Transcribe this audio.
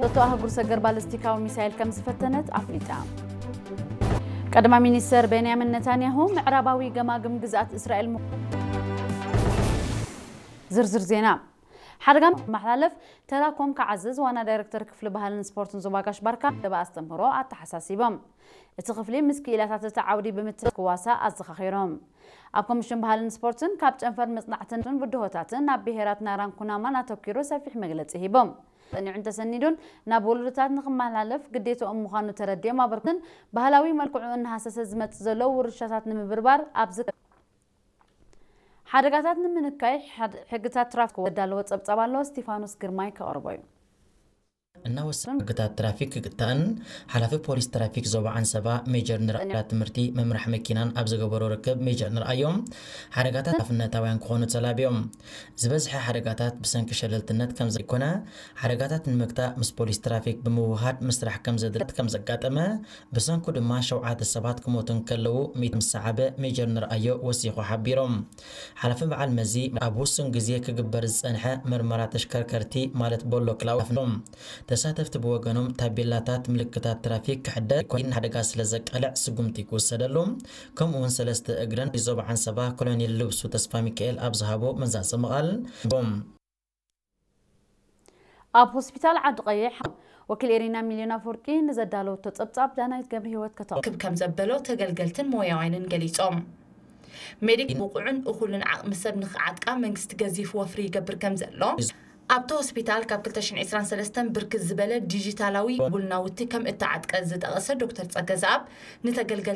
እቶ ኣህጉር ሰገር ባለስቲካዊ ሚሳይል ከም ዝፈተነት ኣፍሊጣ። ቀዳማይ ሚኒስተር ቤንያሚን ነታንያሁ ምዕራባዊ ገማግም ግዝኣት እስራኤል ምዃኑ። ዝርዝር ዜና። ሓደጋ መሓላለፍ ተራኮም ክዓዝዝ ዋና ዳይረክተር ክፍሊ ባህልን ስፖርትን ዞባ ጋሽ ባርካ ደባ ኣስተምህሮ ኣተሓሳሲቦም። እቲ ክፍሊ ምስ ክኢላታት እቲ ዓውዲ ብምትእስሳር ክዋሳእ ኣዘኻኺሮም። ኣብ ኮሚሽን ባህልን ስፖርትን ካብ ጨንፈር መጽናዕትን ብድሆታትን ናብ ብሄራት ናራን ኩናማን ኣተኲሩ ሰፊሕ መግለጺ ሂቦም። ጸኒዑን ተሰኒዱን ናብ ወለዶታት ንኽመሓላለፍ ግዴታኦም ምዃኑ ተረዲኦም ኣበርክትን ባህላዊ መልክዑ እናሃሰሰ ዝመጽእ ዘሎ ውርሻታት ንምብርባር ኣብዚ ሓደጋታት ንምንካይ ሕድ- ሕግታት ትራፊክ ዘዳለወ ጸብጻብ ኣሎ። እስቲፋኖስ ግርማይ ከቕርቦ እዩ። እናወሰኑ ሕግታት ትራፊክ ክግታእን ሓላፊ ፖሊስ ትራፊክ ዞባ ዓንሰባ ሜጀር ንርኣያ ትምህርቲ መምራሕ መኪናን ኣብ ዝገበሮ ርክብ ሜጀር ንርኣዮም ሓደጋታት ሓላፍነታውያን ክኾኑ ተላብዮም። ዝበዝሐ ሓደጋታት ብሰንኪ ሸለልትነት ከም ዘይኮነ ሓደጋታት ንምግታእ ምስ ፖሊስ ትራፊክ ብምውሃድ ምስራሕ ከም ዘድለት ከም ዘጋጠመ ብሰንኩ ድማ ሸውዓተ ሰባት ክሞቱ እንከለዉ ሚእቲ ምስ ሰዓበ ሜጀር ንርኣዮ ወሲኹ ሓቢሮም። ሓላፊ በዓል መዚ ኣብ ውሱን ግዜ ክግበር ዝጸንሐ መርመራ ተሽከርከርቲ ማለት ቦሎ ክላው ኣፍኖም። ተሳተፍቲ ብወገኖም ታቤላታት ምልክታት ትራፊክ ክሕደር ኮይን ሓደጋ ስለ ዘቃልዕ ስጉምቲ ክውሰደሉ ከምኡ እውን ሰለስተ እግረን ዞባ ዓንሰባ ኮሎኔል ልብሱ ተስፋ ሚካኤል ኣብ ዝሃቦ መዛዘሚ ቃል ቦም ኣብ ሆስፒታል ዓዲ ቀይሕ ወኪል ኤሪና ሚልዮን ኣፈወርቂ ንዘዳለወቶ ጸብጻብ ዳናይት ገብረ ህይወት ከተቕርብ። ክብ ከም ዘበሎ ተገልገልትን ሞያውያንን ገሊጾም። ሜዲክ ብቑዕን እኹልን ዓቕሚ ሰብ ንኽዓጥቃ መንግስቲ ገዚፍ ወፍሪ ይገብር ከም ዘሎ ኣብቲ ሆስፒታል ካብ ክልተ ሽሕን ዕስራን ሰለስተን ብርክት ዝበለ ዲጂታላዊ ውል ናውቲ ከም እተዓጥቀ ዝጠቐሰ ዶክተር ጸገዝኣብ ንተገልገልቲ